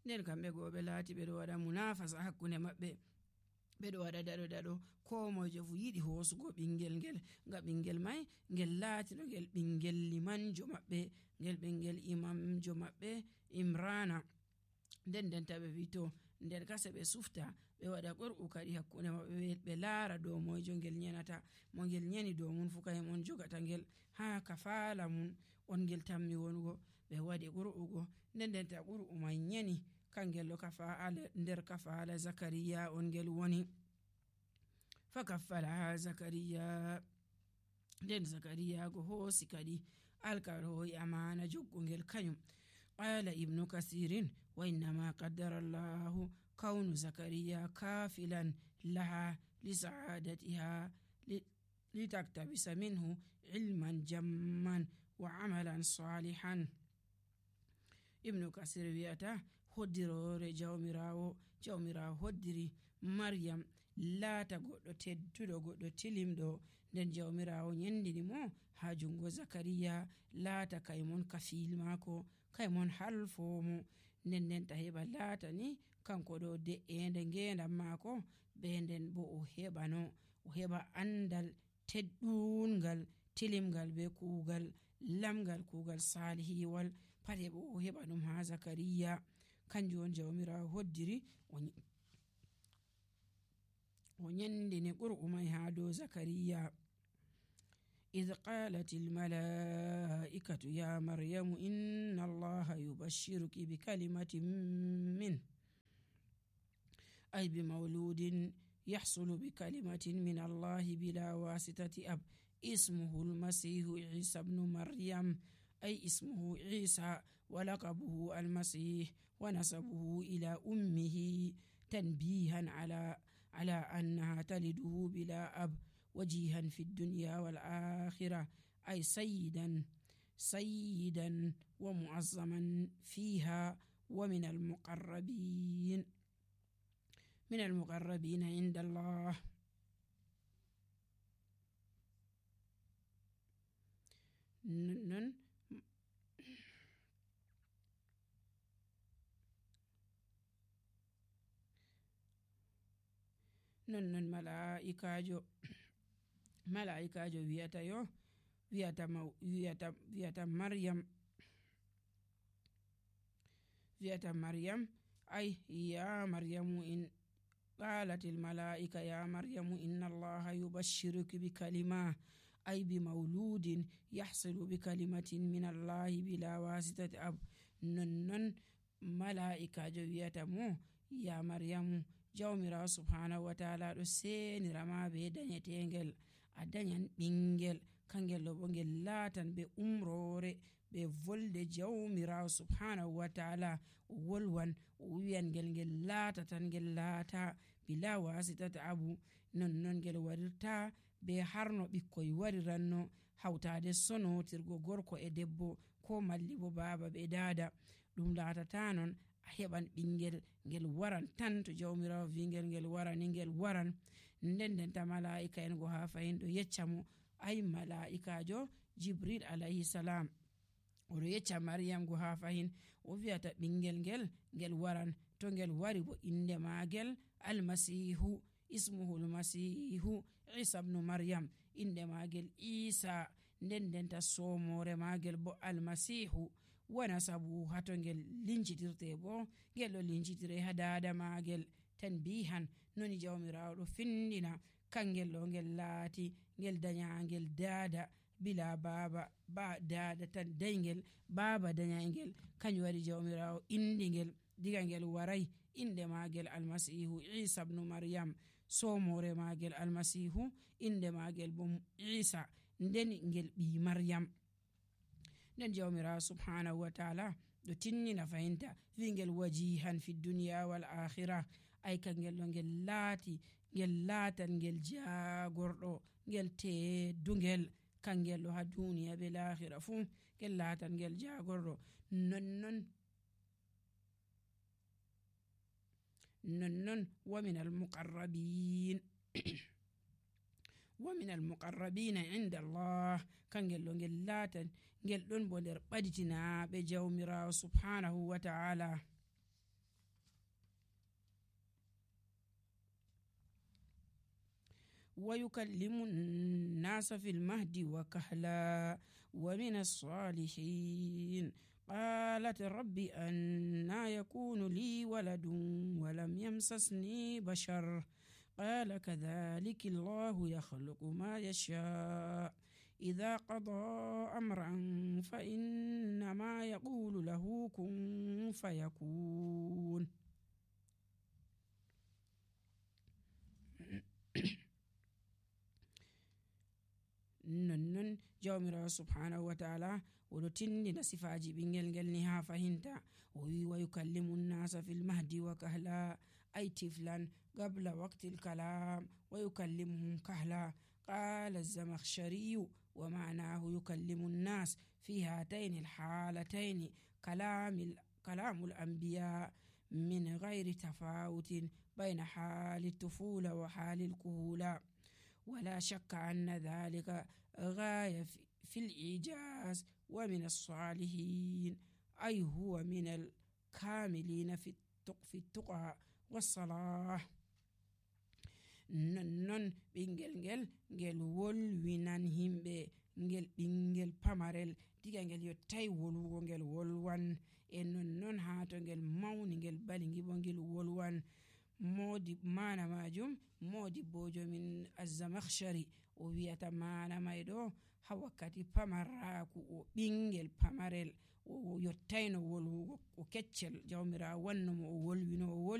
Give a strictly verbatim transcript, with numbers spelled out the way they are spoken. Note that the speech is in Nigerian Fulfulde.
nden kamɓe goo ɓe laati ɓe ɗo waɗa munafasa hakkunde maɓɓe, ɓe ɗo waɗa daɗo daɗo ko mojo fu yiɗi hoosugo ɓingel ngel, nga ɓingel mai ngel laatino ngel ɓingel limanjo maɓɓe, ngel ɓingel imamjo maɓɓe Imrana. nden ndenta ɓe wi to nder kase ɓe sufta ɓe waɗa qur'u kadi hakkunde maɓɓe ɓe laara dow moyjo ngel nyenata, mo ngel nyeni dow mun fu kayum on jogata ngel ha kafala mun on ngel tammi wonugo. ɓe waɗi qur'u go, nden ndenta qur'u mai nyeni kangel ɗo kafala nder kafala Zakariya on ngel woni. fa kaffalaha Zakariya, nden Zakariya go hoosi kadi alkawal hoyi amana joggo ngel kanyum. qala ibnu kasirin wa innama qaddara allahu kawnu Zakariya kafilan laha li sa'adatiha litaktabisa minhu ilman jamman wa amalan salihan. ibnu kasir wiyata hoddirore jawmirawo jawmirawo hoddiri Maryam laata goɗɗo tedduɗo goɗɗo tilimɗo, nden jawmirawo nyendini mo ha jungo Zakariya laata kaymon kafil mako, kaymon halfomo, nden ndenta heɓa laata ni kanko ɗo de'ende ngendam mako, be nden bo o heɓano o heɓa andal teddungal tilimgal be kuugal lamgal kuugal salihiwal pat heɓo o heɓa ɗum ha Zakariya. kanjum on jawmirawo hoddiri o nyendini qur'u mai ha dow Zakariya. إذ قالت الملائكة يا مريم إن الله يبشرك بكلمة منه أي بمولود يحصل بكلمة من الله بلا واسطة أب اسمه المسيح عيسى بن مريم، أي اسمه عيسى ولقبه المسيح ونسبه إلى أمه تنبيها على على أنها تلده بلا أب وجيها في الدنيا والآخرة، أي سيدا سيدا ومعظما فيها ومن المقربين من المقربين عند الله. نن نن ملائكة malaikajo wiyata yo wiyata wiyata wiyata Maryam wiyata Maryam ay ya Maryamu in qalat al malaika ya Maryamu inna Allah yubashshiruki bi kalima ay bi mawludin yahsilu bi kalimatin min Allah bila wasitati ab. nonnon malaikajo wiyata mo ya Maryamu jawmirawo subhanahu wa ta'ala do senirama be danyetengel a danyan ɓingel, kangel ɗo bo ngel laatan be umrore be volde jawmirawo subhanahu wa ta'ala o wolwan o wiyan ngel ngel laata tan ngel laata bila wasitata abu. nonnon ngel warirta be harno ɓikkoy wariranno hawtade sonotirgo gorko e debbo ko malli bo baba be dada. ɗum laatata non a heɓan ɓingel ngel waran tan to jawmirawo wi ngel ngel warani ngel waran. nden ndenta malaika en go ha fahin ɗo yecca mo ay malaikajo Jibril alayhi salam oɗo yecca Maryam go ha fahin o wiyata ɓingel ngel ngel waran, to ngel wari bo inde magel almasihu ismuhu almasihu Isa ibn Maryam, inde magel Isa, nden ndenta somore magel bo almasihu wana sabu hato ngel lincitirte bo ngel ɗo lincitire ha dada magel tanbihan noni jawmirawo ɗo findina kangel ɗo ngel laati ngel danyangel dada bila baba ba dada tan dayngel baba danyangel, kanjum waɗi jawmirawo indi ngel diga ngel waray inde magel almasihu Isa ibn Maryam, somore magel almasihu inde magel bo Isa, nden ngel ɓi Maryam. nden jawmirawo subhanahu wa ta'ala ɗo tinnina fayinta wi ngel wajihan fi dunya wal akhirah, ay kangel ɗo ngel laati ngel laatan ngel jagorɗo ngel teddungel kangel ɗo ha duniya be lahira fu ngel laatan ngel jagorɗo. nonnon nonnon wa min al muqarrabin wa min al muqarrabina inda Allah, kangel ɗo ngel laatan ngel ɗon bo nder ɓaditinaɓe jawmirawo subhanahu wa ta'ala. ويكلم الناس في المهد وكهلا ومن الصالحين قالت رب أنى يكون لي ولد ولم يمسسني بشر قال كذلك الله يخلق ما يشاء إذا قضى أمرا فإنما يقول له كن فيكون. nonnon jawmirawo subhanahu wa ta'ala oɗo tindina sifaji ɓingel ngel ni ha fahinta o wi wa yukallimu nnasa fil mahdi wa kahla ay tiflan qabla waqtil kalam wa yukallimuhum kahla qala az-zamakhshariyu wa ma'nahu yukallimu nnas fi hatayn al-halatayn kalam كلام الأنبياء من غير تفاوت بين حال الطفولة وحال الكهولة ولا شك أن ذلك غاية في الإيجاز ومن الصالحين أي هو من الكاملين في التقى والصلاح. نون بينجل جل جل wolwinan himɓe ngel ɓingel pamarel diga ngel yottai wolwugo ngel wolwan e nonnon ha to ngel mawni ngel bali ngibo ngel wolwan modi mana majum modi bojo min az-Zamakhshari o wiyata mana mai ɗo ha wakkati pamaraaku o ɓingel pamarel o yottaino wolwugo o keccel jawmirawo wanno mo o wolwino o